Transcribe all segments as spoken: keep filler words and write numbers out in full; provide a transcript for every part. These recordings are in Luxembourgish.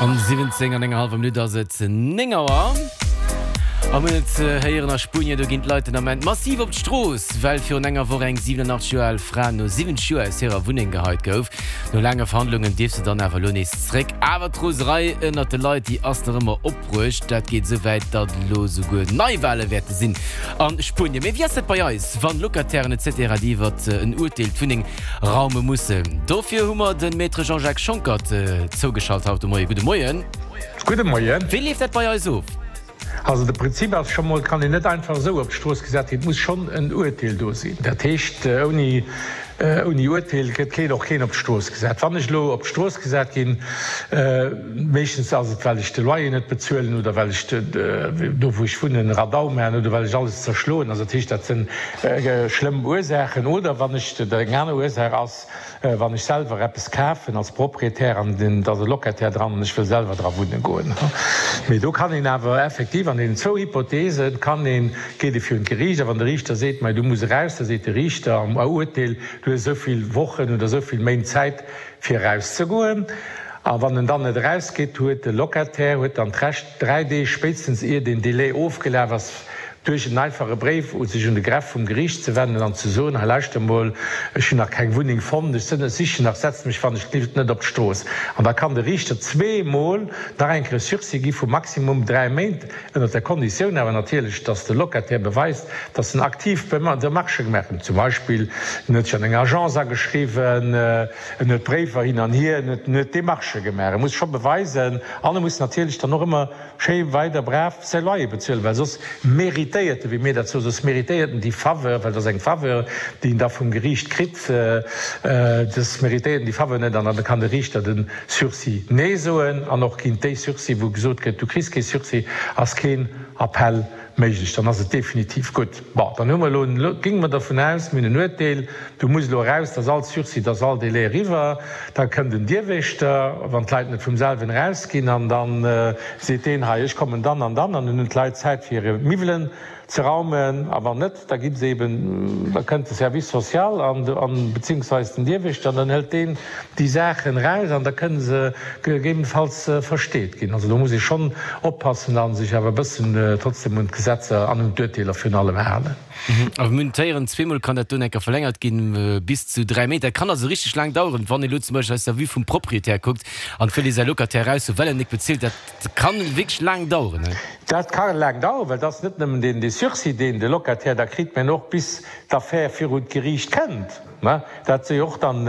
An siwwenzéng an enger hallwer Minutt ass et néng Auer. A mir hunn et héieren, a Spuenien, do ginn d'Leit den Ament massiv op d'Strooss, well virun enger Woch eng siwenanachtzeg Joer al Fra no siwwenzeg Joer aus hirer Wunneng geheit gouf. No laange Verhandlungen dierf se dann awer elo nees zréck. Awer d'Roserei ënnert de Leit, déi ass nach ëmmer opbruecht. Dat geet esou wäit, datt elo souguer Neiwale wäerte sinn a Spuenien. Mee wéi ass dat bei eis, wann Locatairen et cetera déi iwwert en Urteel d'Wunneng raume mussen? Dofir hu mer de Maître Jean-Jacques Schonckert zougeschalt haut de Moien. Gudde Moien. Gudde Moien. Wéi leeft dat bei eis of? Also de Prinzip ass scho mol, et kann een net einfach esou op d'Strooss gesat ginn, et muss schonn en Urteel do sinn. Dat heescht, ouni Ouni Urteel gëtt keen, och keen op d'Strooss gesat. Wann ech elo op d'Strooss gesat ginn, meeschtens ass et well ech de Loyer net bezuelen oder well ech do wou ech wunnen Radau maachen oder well ech alles zerschloen. Also dat heescht, dat sinn schlëmm Ursaachen. Oder wann ech, eng aner Ursaach ass, wann ech selwer eppes kafen als Proprietär an et ass e Locataire dran an ech wëll selwer dra wunne goen. Mee do kann een awer effektiv an deenen zwou Hypothese kann een, geet ee virun d'Geriicht a wann de Riichter seet, mei du muss eraus, da seet de Riichter am Urteel, Du hues esou vill Wochen oder esou vill Méint Zäit fir erauszegoen. A wann en dann net erausgeet, huet de Locataire huet dann d'Recht, dräi Deeg spéitstens ier deen Délai ofgelaf ass, duerch en einfache Bréif u sech un de Greffe vum Geriicht ze wennen an ze soen, Hei lauschter emol, ech hunn nach keng Wunneng fonnt, ech sichen nach, setzt mech wann ech gelift net op d'Strooss. An da kann de Riichter zweemol nach eng Kéier e Sursis gi vu maximum dräi Méint. Ënnert der Konditioun awer natierlech, dass de Locataire beweist, dass en aktiv Demarchë gemaach huet, zum Beispill en huet sech an enger Agence ageschriwwen, en huet Bréiwer hin an hier, en huet Demarchë gemaach. E muss scho beweisen an e muss natierlech dann och ëmmer schéi weider brav säi Loyer bezuelen, well soss méritéiert e, wéi mir dat soen, soss méritéiert en déi Faveur, well et ass eng Faveur, déi en da vum Geriicht kritt, soss méritéiert en déi Faveur net an da kann de Riichter de Sursis Nee soen an och géint déi Sursis, wou gesot gëtt, du kriss kee Sursis, ass keen Appell méiglech, dann ass et definitiv gutt. Bon, dann hu mer elo, géinge mer dervun aus, mir hunn en Uerteel, du muss elo eraus, da ass all Sursis, da ass all Délai eriwwer, da kënnt en Dierwächter, wann d'Leit net vum selwen erausginn, an da seet deen, hei, ech kommen dann an dann, an dann hunn d'Leit Zäit fir hir Miwwelen ze raumen, a wann net, da gi se eben, da kënnt de Service social an, beziehungsweise den Dierwächter, an dann hëlt deen déi Saachen eraus an da kënne se gegebenenfalls versteet ginn. Also do muss ee schonn oppassen a sech awer e bëssen trotzdem un d'Gesetzer an un d'Urteeler virun allem halen. A mir hunn d'héieren, zweemol kann dat do enker verlängert ginn, bis zu dräi Méint. Dat kann also richteg laang daueren, wann ee lo zum Beispill aus der Vue vum Proprietär kuckt an et wëll ee säi Locataire eraushuelen, well en nik bezilt. Dat kann wierklech laang daueren. Dat ka laang daueren, well et ass net nëmmen deen dee Sursis, deen de Locataire da kritt, mä och bis d'Affär virun d'Geriicht kënnt. Dat si jo och dann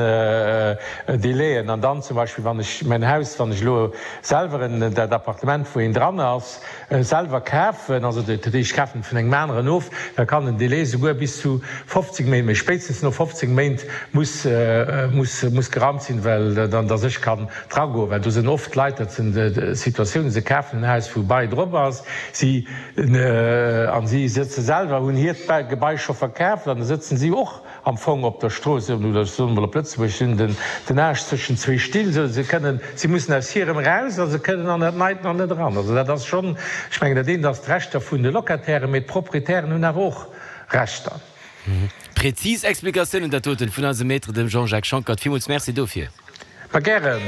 Délaiën. An dann zum Beispill, wann ech mäin Haus, wann ech elo selwer en, dat Appartement, wou een dran ass, selwer kafen, also dat heescht, ech kafen et vun engem aneren of, da kann den Délai souguer bis zu fofzéng Méint, mä spéitstens no fofzéng Méint muss, muss, muss geraumt sinn, well dann, dass ech kann dragoen, well do sinn oft Leit, dat sinn Situatiounen, se kafen en Haus, wou e Bail drop ass, si, an si sëtze selwer, hunn hiert Gebai scho verkaaft an da sëtzen si och am Fong op der Strooss, oder ech soen emol op Lëtzebuerg, si hunn den den Aarsch zwëschen zwee Still, sou se kënnen, si mussen aus hirem eraus a se kënnen an dat Neit nach net eran. Also dat ass schonn, ech mengen, dat eent ass d'Rechter vun de Locatairen, mee d'Proprietären hunn awer och Rechter. Präzis Explikatiounen dat doten vun eisem Maître, dem Jean-Jacques Schonckert. Villmools Merci dofir. Ma gären.